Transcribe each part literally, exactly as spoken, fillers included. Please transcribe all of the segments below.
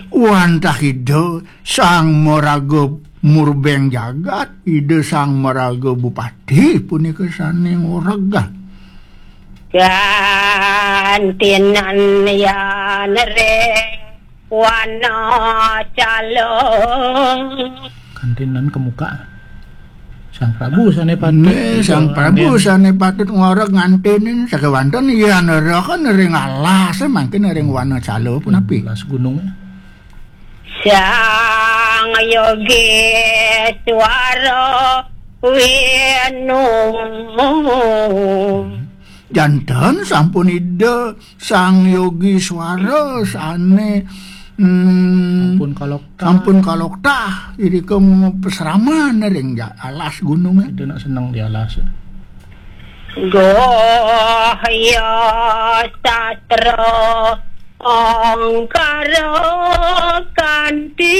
Wantah Ida Sang Maraga Murbeng Jagat, Ida Sang Maraga Bupati punika sané ngoreg. Gantinan yan ring wana cala. Gantinan kemuka. Sang Prabu sané patut Nggih, Sang Prabu sané patut ngoreg ngantinin sakéwanten yan neraken ring alas mangkin ring wana cala punapi. Alas gunung. Sang Yogi Swara Wenu. Janten sampun Ida Sang Yogi Swara sané, hmm, Sampun kaloktah. Sampun kaloktah, irika pasraman ring ja-, alas gunungé. Ida nak seneng di alas. Gohya sastra angkara kanti.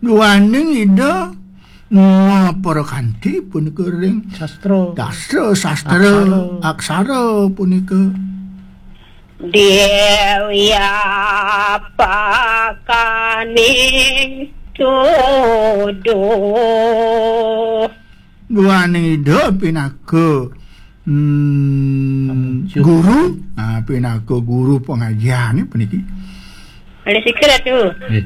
Duaning Ida ngaprakanti punika ring sastra. Sastra, sastra, aksara. Aksara punika. Déwya pakaning tuduh. Duaning Ida pinaka, hmm, guru, nah, pinaka guru pangajian puniki. Oleh sikil atu. Nggih.